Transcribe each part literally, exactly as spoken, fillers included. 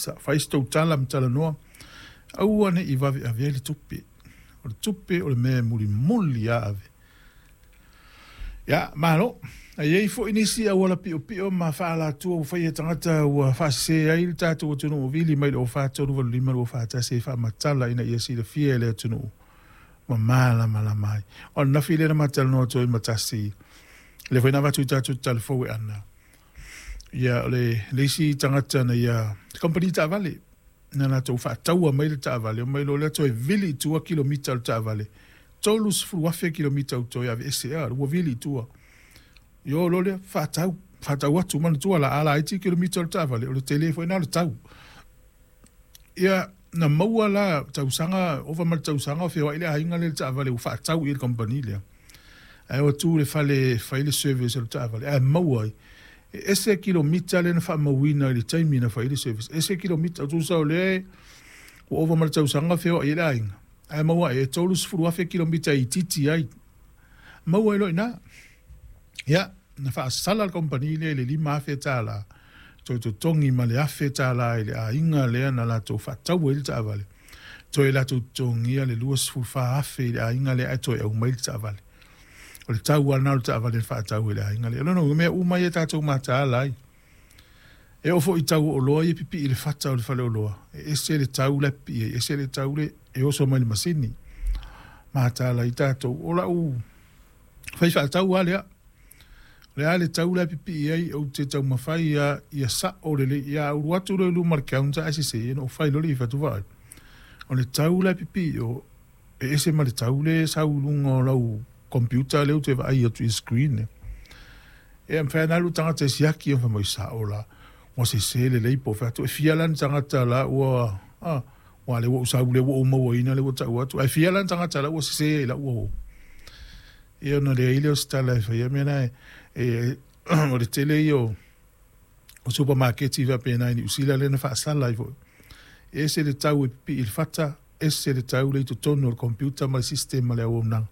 Ofisa. Fai se tou tala ma talanoa, aua ne i vave ave ai le tupe. O le tupe o le mea e mulimuli lava ave. Ia, malo. E i ai foi nisi auala piopio ma faaalatua ua faia e tagata ua faasese ai le tatou atunuu vili mai le o fa tolu valu lima lua fa tasi e faamatala ina ia silafia e le atunuu ma malamalama ai. O le nafi lea na ma talanoa atu ai ma tasi, lea foi na avatu i tatou tatalo fou e ana. Ia, o le, le isi tagata na ia, kompani taavale, na latou faataua mai le taavale, omai loa lea toe vili i tua kilomita o le taavale, tolu sefulu afe kilomita ua toe aveese, a, ua vili i tua. Ia o loa lea, faatau, faatau atu, manatua la, a laiti kilomita o le taavale, o le tele foi lena o le tau. Ia, na maua la tausaga, ova ma le tausaga o feoai le aiga lea i le taavale ua faatau i le kamupani lea. Ae o atu i le fale e fai le service o le taavale, ae maua ai, e ese kilomita lea na faamauina i le taimi na fai ai le service, ese kilomita, tusa o lea ua ova ma le tausaga feoai ai le aiga, ae maua ai e tolu sefulu afe kilomita e itiiti ai. Maua ai loa i ina. Ia, na faasala le kamupani lea i le lima afe tala, toe totogi ma le afe tala i le aiga lea na latou faatau ai le taavale, toe latou totogia le lua sefulu fa afe i le aiga lea ae toe aumai le taavale. O le tau lava lena o le taavale na faatau e le aiga lea. O lona uiga, mea uma ia tatou mataala ai. E oo foi i tau o oloa ia e pipii i le fata o le faleoloa, e ese le tau la e pipii ai, ese le tau le e oso mai i le masini. Mataala ai tatou. O lau fai faatau lava lea. O le a le tau la e pipii ai, ou te taumafai lava ia sao lelei. Ia alu atu loa i luma o le counter ae sese, ona ou fai loa lea i fatu vaai. O le tau la e pipii o, e ese ma le tau lea e sau i luga o lau computer lea ou te vaai atu i le screen lea. E mafai ona alu le tagata e siaki, fai mai sao la, ua sese lelei po o fea atu. E fia la ni tagata la ua, ah, ua lea ua ou sau lea ua ou mauaina lea ua tau atu. Ae fia la ni tagata la ua sese ai lau uo. Ia ona leai lea o se tala e faia mea na e, e o le tele ia o, o supamaketi faapena i Niu Sila lea na faasala ai foi. E ese le tau e pipii i le fata, ese le tau le i totonu o le computer ma le system ma le auaunaga.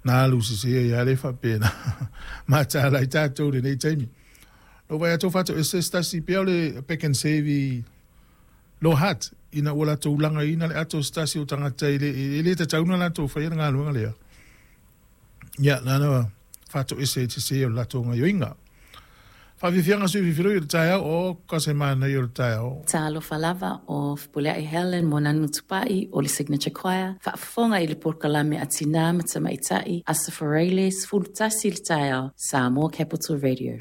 Na alu sese ai lava le faapena. Mataala ai tatou i lenei taimi. Na ou vaai atu faatoese se tasi pea o le Pak'nSave i Lower Hutt, ina ua latou lagaina le ato o se tasi o tagata e le, e le tatau ona latou faia le galuega lea. Ia, na na faatoese ai te sese o le latou gaoioiga. Faafiafiaga sui usufono i le taeao, o ka se manaia o le taeao. Talofa lava o Fepuleai Helen Moananu Tupai o le Signature Choir, faafofoga i le polokalame a Tinā ma Tamaitai, Aso Faraile, sefulu tasi le taeao, Samoa Capital Radio.